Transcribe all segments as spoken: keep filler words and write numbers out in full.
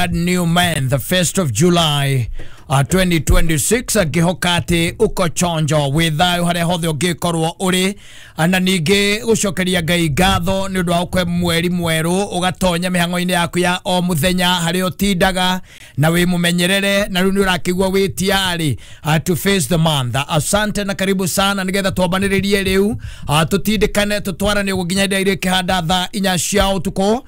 New man, the first of July uh, twenty twenty-six, ngihoka ati uko chonjo wi thayo haria hothe ungikorwo uri, na ningi gucokeria Ngai ngatho ni undu wa gukwe mweri mweru ugatonya mihango-ini yaku ya o muthenya haria utindaga na wi mumenyerere na riu ni urakigua wi tiari uh, to face the month. Asante na karibu sana nigetha twambaniririe riu uh, tutindikane tutwarane uguo nginya hĩndĩ ĩrĩa ikihanda thaa inya cia utuku,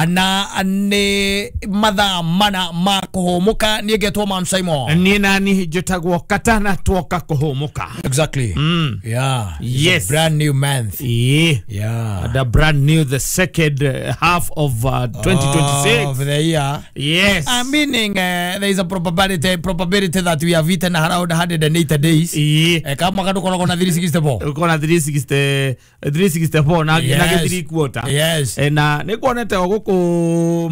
na ni mathaa mana ma kuhumuka. Niĩ ngetwo Mam Simon. Niĩ nani njĩtagwo Katana twoka kuhumuka. Exactly. Mm. Yeah. Yes. It's a brand new month. Yeah. Yeah. The brand new, the second half of uh, twenty twenty-six. Oh, of the year. Yes. Uh, meaning uh, there is a probability probability that we have eaten around one hundred eighty days. Yeah. Eh, kama mwaka tukoragwo na three sixty-four. Uko na three sixty, three sixty-four na Yes. na three quarter. Yes. Eh, na nikuonete guku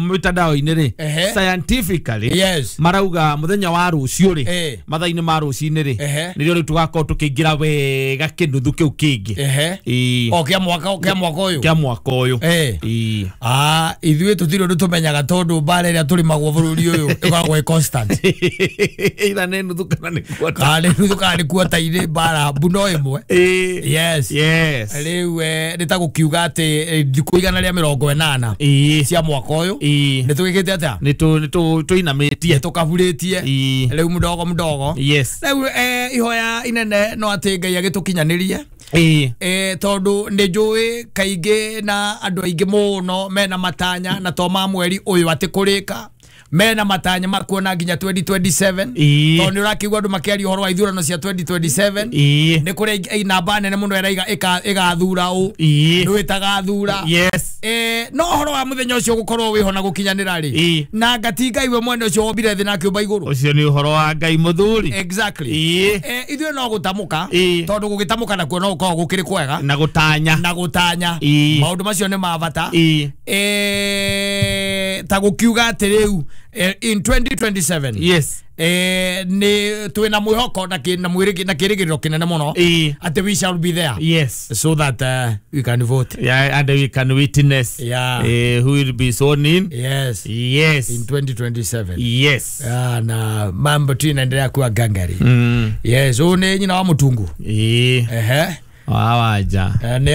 mitandao-inĩ rĩ, Ehe. scientifically Yes. marauga muthenya wa rucio rĩ, Eh. mathaa-inĩ ma rucinĩ rĩ, Ehe. nĩrĩo rĩu tũgakorwo tũkĩingĩra wega kĩnuthu kĩu kĩngĩ. Ehe. Ĩĩ. O kĩa mwaka kĩa mwaka ũyũ. Kĩa mwaka ũyũ. Eh. Ĩĩ. Ah, ithuĩ tũtirĩ ũndũ tũmenyaga tondũ mbara ĩrĩa tũrĩmagwo bũrũri ũyũ ĩkoragwo ĩ constant. Either nĩ nuthu kana nĩ quarter. Kana nĩ nuthu kana nĩ quarter irĩ mbara mbu no ĩmwe. Ĩĩ. Yes. Yes. Rĩu eh, nĩ ta gũkiuga atĩ eh, thikũ igana rĩa mĩrongo ĩnana Ĩĩ. cia mwaka ũyũ Ĩĩ. nĩ tũgĩkĩte atĩa? Nĩ tũ nĩ tũ tũinamĩtie. Nĩ tũkaburĩtie. Ĩĩ. Rĩu mdogo mdogo. Yes. Rĩu eh, ihoya inene no atĩ Ngai agĩtũkinyanĩrie. Ĩĩ. Eh, tondu nĩ njũĩ kaingĩ na andũ aingĩ mũno mena matanya na to ma mweri ũyũ atĩ kũrĩka mena matanya makuona nginya twenty twenty-seven. Ĩĩ. Tondũ nĩ ũrakĩigua andũ makĩaria ũhoro wa ithurano cia twenty twenty-seven. Ĩĩ. Nĩ kũrĩ namba nene mũno ĩraiga ĩgathura ũ Ĩĩ. nĩ ĩtagathura. Yes. Eh, no ũhoro wa mũthenya ũcio gũkorwo wĩho na gũkinyanĩra rĩ, Ĩĩ. na ngati Ngai we mwene ũcio wombire thĩ na akĩũmba igũrũ. Ũcio nĩ ũhoro wa Ngai mũthuri. Exactly. Ĩĩ. Eh, ithuĩ no gũtamũka Ĩĩ. tondũ gũgĩtamũka nakuo no gũkorwo gũkĩrĩ kwega Na gũtanya. na gũtanya. Ĩĩ. Maũndũ macio nĩ ma bata. Ĩĩ. Eh, ta gũkiuga atĩ rĩu eh, in twenty twenty-seven. Yes. Eh, nĩ twĩna mwĩhoko na kĩ- na mwĩrĩ na kĩrĩgĩrĩro kĩnene mũno Ĩĩ. atĩ we shall be there. Yes. So that uh, we can vote. Yeah, and we can witness. Yeah. Eh, who will be sworn in. Yes. Yes. In twenty twenty-seven. Yes. Yeah, na mambo tu inaendelea kuwa gangari. Mm. Yes, ũyũ nĩ nyina wa mũtungu. Ĩĩ. Ehe. Wawaja. Eh, nĩ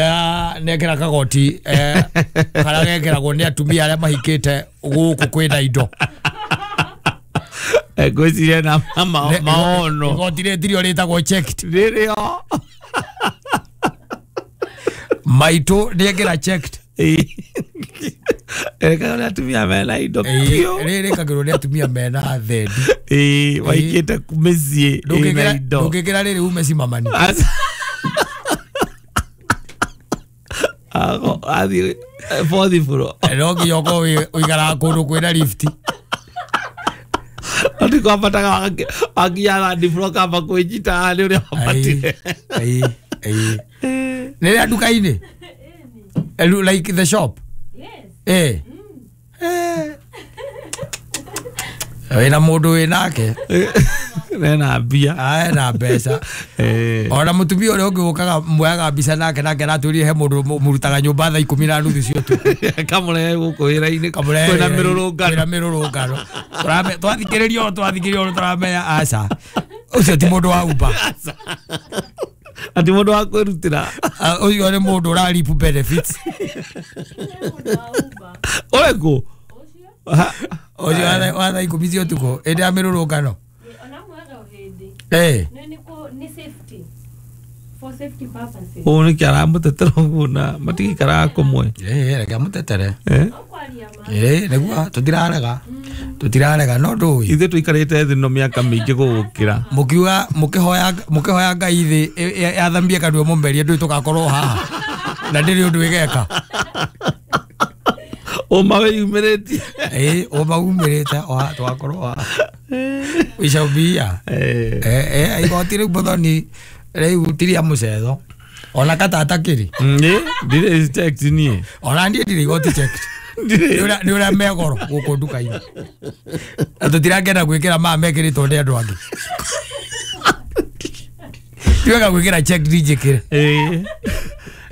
nĩekĩra kagoti eh, karĩa gekĩragwo nĩ atumia arĩa mahikĩte gũkũ kwĩna indo. Ngwĩciria na ma- Ne- maono. Igoti rĩtirio rĩtagwo checked. Rĩrĩo. Maitũ nĩekĩra checked. Ĩĩ. Ĩrĩkagwo nĩ atumia mena indo biũ. Rĩrĩ rĩkagĩrwo nĩ atumia mena thendi. Ĩĩ, maikĩte mĩciĩ ĩna Ndũngĩkĩra indo. ndũngĩkĩra rĩrĩ ume cimamani. Aca. Ago athiĩ fourth floor. No nginya ũkorwo wĩ- ũikaraga kũndũ kwĩna lift. Ati kwambataga wakinya third floor kamba kwĩnyita nĩ ũrĩa wambatire. Ĩĩ, ĩĩ. Nĩ rĩa nduka-inĩ? Eh, like the shop? Yes. Eh. Eh. Wĩna mũndũ wĩnake. Nena mbia. Ae na mbeca. Eh. Ona mũtumia ũrĩa ũngĩ ũkaga muoyaga mbica nake nake aratwĩrire he mũndũ mũrutaga nyũmba thaa ikũmi na nuthu cia ũtukũ. Kamũrehe gũkũ wĩra-inĩ. Kamũrehe Kwĩna wĩra-inĩ, mĩrũrũngano. kwĩna mĩrũrũngano. Tũrame- Twathikĩrĩria ũũ twathikĩrĩria ũũ tũramenya aca. Ũcio ti mũndũ wa Uber. Ati mũndũ wa kwĩrutĩra. Ah, ũcio nĩ mũndũ ũra reap benefits. Ũrĩkũ? Ũcio wa thaa- wa thaa ikũmi cia ũtukũ hĩndĩ ya mĩrũrũngano. Eh. Nĩ safety. For safety purposes. Ũũ nĩkĩ aramũtetera ũguo na matigĩikaraga kũmwe. Eh, reke amũtetere. Eh? Eh, nĩguo tũtirarega. Tũtirarega no ndũĩ. Ithuĩ tũikarĩte thĩ no mĩaka mĩingĩ gũgũkĩra. Mũkiuga mũkĩhoya mũkĩhoya Ngai thĩ yathambie kanua mũmerie ndũĩ tũgakorwo haha. Na ndĩrĩ ũndũ ĩgeka. Ũma wĩyumĩrĩtie. Eh, ũma umĩrĩte o haha tũgakorwo haha. We shall be here. Eh. Eh, eh, igoti rĩu mũthoni rĩu tiria mũcetho. Ona katata kĩrĩ. Nĩ ndirĩ checked niĩ. Ona niĩ ndirĩ igoti checked. Ndirĩ. Nĩ ũrĩa megoro gũkũ nduka-inĩ. Na tũtirangenda gwĩkĩra maya mekĩrĩtwo nĩ andũ angĩ. Ti wega gwĩkĩra checked njĩkĩre. Ĩĩ.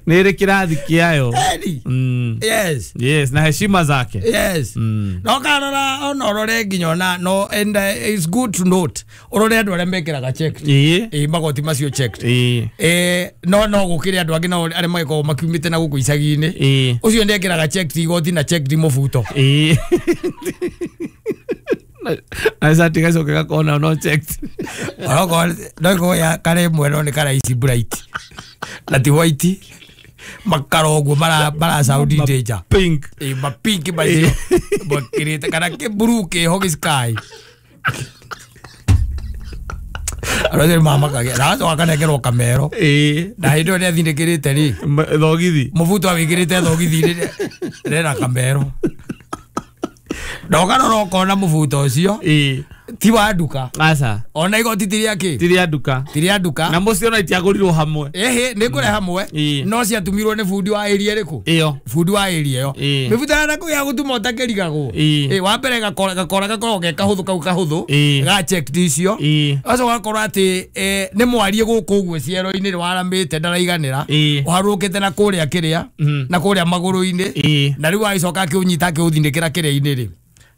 Nĩ ĩrĩ kĩrathi kĩayo. Eni. Mm. Yes. Yes, na heshima zake. Yes. Mm. No karora ona urore nginya ona no, and uh, it's good to note urore andu aria mekiraga checked. Ĩĩ. Ĩ magoti macio checked. Ĩĩ. Eh, no no gukire andu angi no aria magikoragwo makiumite na guku icagi-ini. Ĩĩ. Ucio ndiekiraga checked igoti na checked mubuto. Ĩĩ. Na- na cati gacoke gakona no checked. Onokorwo no ya kare mwe no ni karaici bright na ti white makaro ũguo mara mara sound danger. Pink. Ĩ mapinki macio makirite kana kĩmburu kĩho gĩ sky. Arĩa mamakagia na acoka akanengerwo kamero. Ĩĩ. Na hĩndĩ ĩyo nĩathindĩkĩrĩte rĩ Ma- thogithi. mũbuto awĩkĩrĩte thogithi-inĩ rena kamero na ũkarora ũkona mũbuto ũcio Ĩĩ. ti wa nduka. Aca. Ona igoti ti rĩa kĩ? Ti rĩa nduka. Ti rĩa nduka. Na mũcio ona itiagũrirwo hamwe. Ĩhĩ nĩ kũrĩ hamwe. Ĩĩ. No ciatumirwo nĩ bundi wa area ĩrĩkũ? Ĩyo. Bundi wa area ĩyo. Ĩĩ. Mĩbuto ya nakũu ya gũtuma ũtakĩrigagwo. Ĩĩ. Ĩ wa mbere gakora gakora gakoragwo ge kahũthũ kau kahũthũ Ĩĩ. ga checked icio. Ĩĩ. Gacoka gakorwo atĩ eh, nĩ mwarie gũkũ ũguo ciero-inĩ nĩ waramĩte ndaraiganĩra. Ĩĩ. Ũharũrũkĩte na kũrĩa kĩrĩa Mm. na kũrĩa magũrũ-inĩ. Ĩĩ. Na rĩu agĩcoka akĩũnyita akĩũthindĩkĩra kĩrĩa-inĩ rĩ,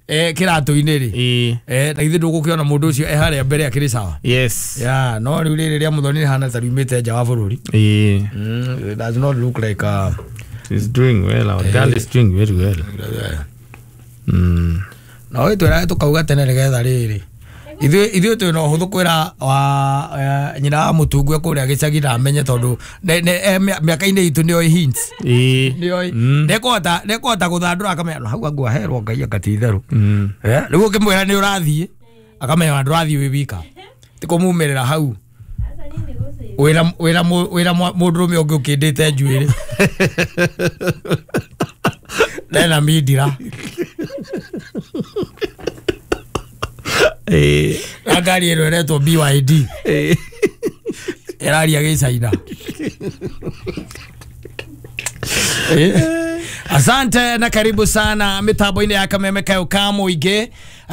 eh, kĩratũ-inĩ rĩ. Ĩĩ. Eh, na githĩ ndũgũkĩona mũndũ ũcio e harĩa mbere akĩrĩ sawa. Yes. Ya, no rĩu rĩrĩ rĩa Muthoni rĩhana ta riumĩte nja wa bũrũri. Ĩĩ. Mm, it does not look like a She's doing well. Our girl is doing very well. Mm. Na ũyũ twĩra tũkauga tene nĩgetha rĩrĩ ithuĩ ithuĩ twĩ na ũhũthũ kwĩra wa eh, nyina wa mũtungu kũrĩa gĩcagi na amenye tondũ ne- ne- eh, mĩa- mĩaka-inĩ itũ nĩoĩ hints. Ĩĩ. Nĩoĩ Mm. nĩekũhota nĩekũhota gũthandũra akamenya "No, hau angua herwo Ngai anga ti itherũ." Mm. Eh, rĩu ũkĩmwĩra nĩ ũrathiĩ akamenya ona ndũrathiĩ wĩ wika ti kũmumĩrĩra hau Sasa nini gũcĩ? wĩra wĩra mũ- wĩra mwa- mũndũrũme ũngĩ ũkĩndĩte njuĩrĩ nena mindira. Ĩĩ. Na ngari ĩno ĩretwo B Y D. Ĩĩ. Ĩraria gĩcaina. Asante na karibu sana mitambo-inĩ ya Kameme kayo ka mũingĩ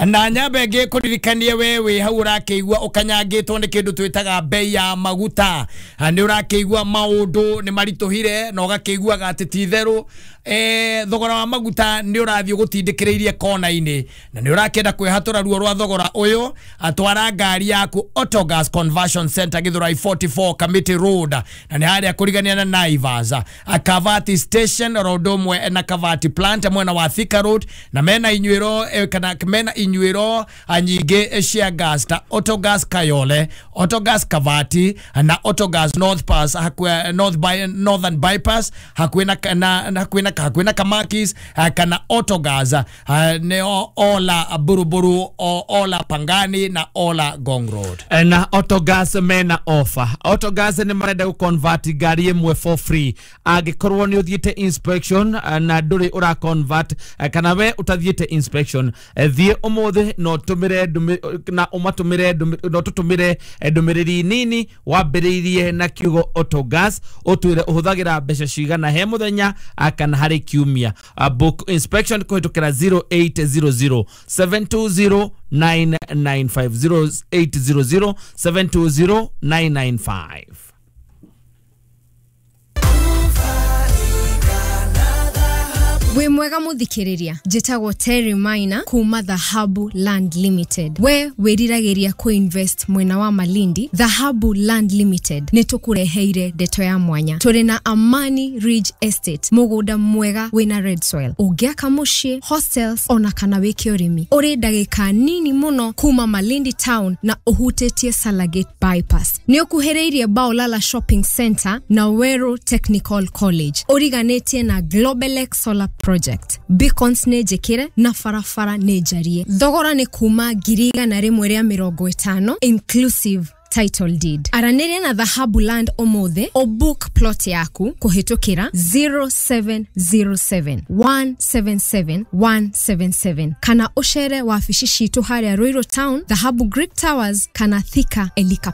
na nyambe ngĩ kũririkanie we wĩ hau ũrakĩigua ũkanyangĩtwo nĩ kĩndũ twĩtaga bei ya maguta. Nĩ ũrakĩigua maũndũ nĩ maritũhire na ũgakĩiguaga atĩ ti itherũ eh, thogora wa maguta nĩ ũrathiĩ ũgũtindĩkĩrĩirie kona-inĩ na nĩ ũrakĩenda kwĩhatũra ruo rwa thogora ũyũ. Atwara ngari yaku Autogas Conversion Center Githurai forty-four Kamiti Road na nĩ harĩa kũrigania na Naivas Kavati Station road ũmwe na Kavati Plant mwena wa Thika Road na mena inyuĩro eh, kana mena inyuĩro nyingĩ cia gas ta Autogas Kayole, Autogas Kavati na Autogas North Pass hakuhĩ North by, Northern Bypass hakuhĩ na, na, na hakuhĩ na hakuhĩ na Kamakis kana Autogas nĩo Ola Buruburu, Ola Pangani na Ola Ngong Road. Na Autogas mena offer. Autogas nĩ marenda gũ-convert ngari ĩmwe for free angĩkorwo nĩ ũthiĩte inspection na ndũrĩ ũra convert kana we ũtathiĩte inspection, thiĩ ũmũthĩ na ũtũmĩre na ũmatũmĩre na ũtũtũmĩre ndũmĩrĩri nini wambĩrĩirie na kiugo Autogas ũtwĩre ũhũthagĩra mbeca cigana he mũthenya kana harĩ kiumia. Book inspection kũhĩtũkĩra zero eight zero zero seven two zero nine nine five, zero eight zero zero seven two zero nine nine five. Wĩ mwega mũthikĩrĩria, njĩtagwo Terry Maina kuma Dhahabu Land Limited. We wĩriragĩria kũ-invest mwena wa Malindi, Dhahabu Land Limited nĩ tũkũreheire ndeto ya mwanya. Tũrĩ na Amani Ridge Estate, mũgũnda mwega wĩna red soil. Ũngĩaka mũciĩ, hostels ona kana wĩke ũrĩmi. Ũrĩ ndagĩka nini mũno kuma Malindi town na ũhutĩtie Salagate Bypass. Nĩ ũkuhĩrĩirie Baolala Shopping Center na Weru Technical College. Ũriganĩtie na Globelex Solar Project. Beacons nĩ njĩkĩre na barabara nĩ njarie. Thogora nĩ kuma ngiri igana rĩmwe rĩa mĩrongo ĩtano inclusive title deed. Aranĩria na Dhahabu Land ũmũthĩ ũbook plot yaku kũhĩtũkĩra zero seven zero seven one seven seven one seven seven kana ũcere wabici citũ harĩa Ruiru Town, Dhahabu Greek Towers kana Thika Elika